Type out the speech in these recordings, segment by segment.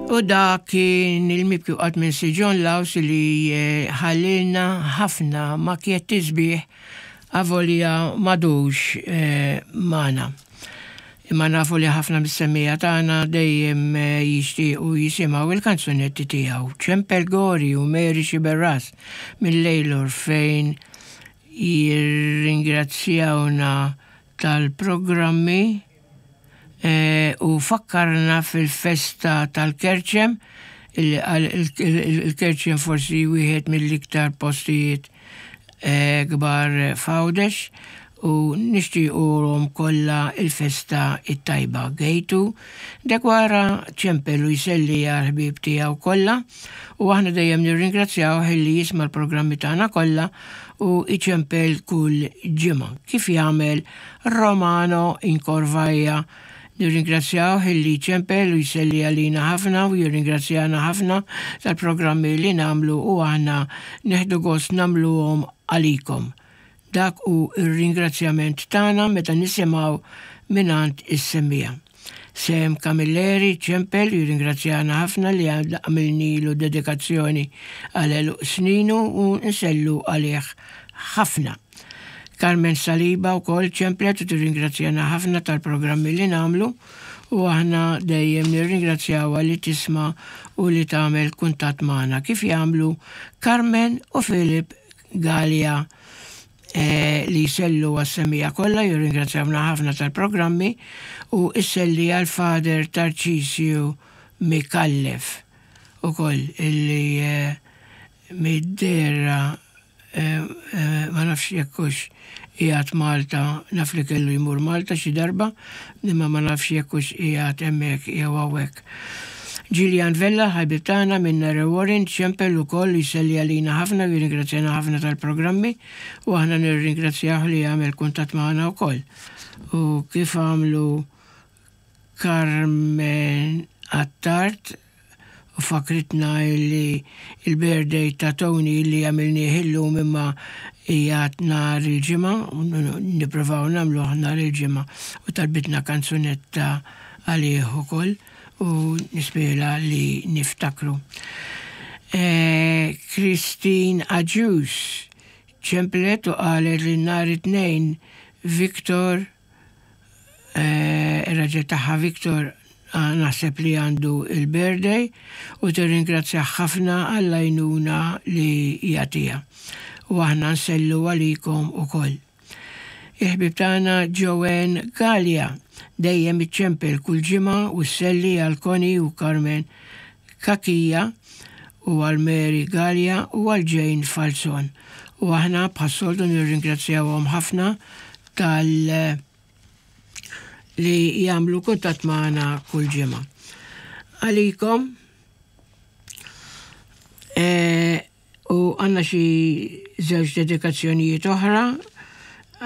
U dak kien il-mibki qatt minn Sir John Laws li ħallilna ħafna makjetti sbieħ avolja m'għadux magħna. Imma nafu li ħafna mis-semmiegħa tagħna dejjem jixtiequ jisimgħu il-kanzunetti tiegħu. Ċempel Gori u Mary Sciberras minn Lejlor fejn jirringrazzjawna tal-programmi u fakkarna fil-festa tal-Kerċem illi qal il-Kerċem forsi wieħed mill-iktar postijiet kbar f'Għawdex u nixtiequlhom kollha l-festa t-tajba. Gejtu Deguara ċempel u jselli għall-ħbieb tiegħu kollha u aħna dejjem nirringrazzjawh illi jisma' l-programmi tagħna kollha u jċempel kull ġimgħa, kif jagħmel Romano Incorvaia. Nirringrazzjawh illi jċempel u jselli għalina ħafna u jirringrazzjana ħafna tal-programmi li nagħmlu u aħna nieħdu gost nagħmluhom għalikom. Dak hu r-ringrazzjament tagħna meta nisimgħu mingħand is-semmiegħa. Sam Camilleri ċempel jirringrazzjana ħafna li għamilnilu dedikazzjoni għal għeluq sninu u nsellu għalih ħafna. Carmen Saliba wkoll ċemplet u tirringrazzjana ħafna tal-programmi li nagħmlu u aħna dejjem nirringrazzjawha li tisma' u li tagħmel kuntatt magħna kif jagħmlu Carmen u Philip Galea li jsellu għas-semmiegħa kollha, jirringrazzjawna ħafna tal-programmi u isselli għal Father Tarcisio Micallef ukoll illi mid-dehra Ma nafx jekk hux qiegħed Malta, naf li kellu jmur Malta xi darba, imma ma nafx jekk hux qiegħed hemmhekk jew hawnhekk. Gillian Vella, ħabib tagħna minn Narrow Warren, ċempel ukoll u jselli għalina ħafna u jirringrazzjana ħafna tal-programmi u aħna nirringrazzjah li għamel kuntatt magħna wkoll. U kif għamlu Carmen Attard u fakkritna illi il-birthday ta' Tony illi għamilnieh illum imma qiegħed nhar il-Ġimgħa, nipprovaw nagħmluh nhar il-Ġimgħa u talbitna kanzunetta għalih ukoll u nispera li niftakru. Christine Agius ċemplet u qalet li nhar it-Tnejn Victor Ir-raġel tagħha Victor naħseb li għandu il-birthday u tirringrazzjah ħafna għall-għajnuna li jagħtiha. U aħna nsellu għalikom ukoll. Il-ħbieb tagħna Joanne Galea dejjem iċċempel kull ġimgħa u sselli għal Connie u Carmen Cachia u għal Mary Galea u għal Jane Falzon. U aħna bħas-soltu nirringrazzjawhom ħafna tal li jagħmlu kuntatt magħna kull ġimgħa. Għalikom e, u għandna xi żewġ dedikazzjonijiet oħra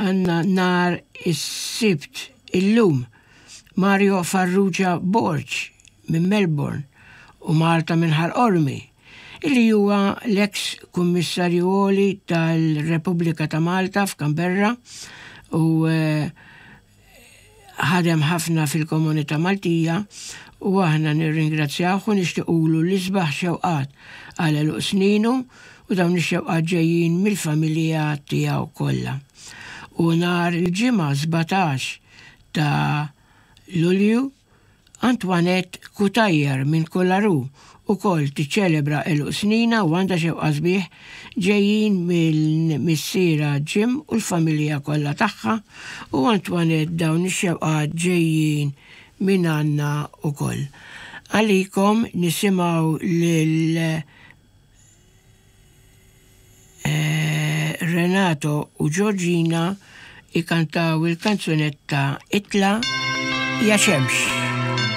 għandna nar is-sibt illum Mario Farrugia Borg minn Melbourne u Marta minn Ħal Qormi illi huwa l-eks Kummissarju Għoli tal-Repubblika ta' Malta f'Canberra u ħadem ħafna fil-komunità Maltija u aħna nirringrazzjawh u nixtiqulu l-isbaħ xewqat għal għeluq sninu u dawn ix-xewqat ġejjin mill-familja tiegħu kollha. U nhar il-Ġimgħa 17 ta' Lulju Antoinette Cutajar minn Kularu ukoll tiċċelebra għeluq sninha u għandha xewqa sbieħ ġejjin minn missierha Jim u l-familja kollha tagħha u Antoinette dawn ix-xewqat ġejjin minn għandna ukoll. Għalikom nisimgħu lil Renato u Georgina ikantaw il-kanzunetta Itla' ja xemx.